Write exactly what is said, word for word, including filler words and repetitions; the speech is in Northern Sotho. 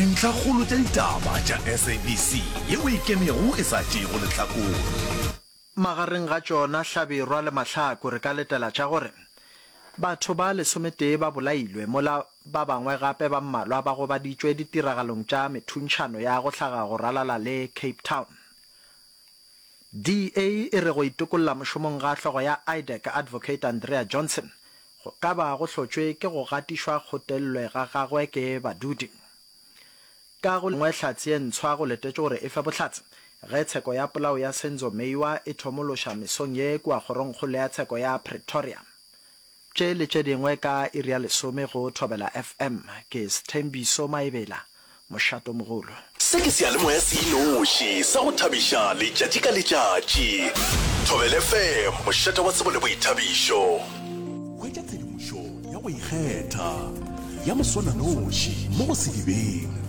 Dintlhakgolo tša ditaba tša S A B C yeo e ikemego e sa tšeego lehlakore. Magareng ga tšona Hlabirwa le Mahlaku re ka letela tša gore batho ba lesometee ba bolailwe mola ba bangwe gape ba mmalwa ba gobaditšwe ditiragalong tša methuntšhano ya go hlaga go ralala le Cape Town. D A e re go itokolla mošomong ga hlogo ya IDAC Advocate Andrea Johnson go ka ba go hlotšwe ke go gatišwa kgotellwe ga gagwe ke badudi. Ka go lengwe hlatse ye ntshwa go letetšwe gore e fe bohlatse ge tsheko ya polao ya Senzo Meyiwa e thomološa mesong ye kua kgorongkgolo ya tsheko ya Pretoria. Tše le tše dingwe ka iri ya lesome go Thobela F M. Ke Sthembiso Maebela, Mošatomogolo. Se ke seyalemoya se inoši sa go thabiša letšatši ka letšatši. Thobela F M, mošate wa tsebo le boithabišo. Hwetša tshedimošo ya go ikgetha ya moswananoši mo go Sedibeng.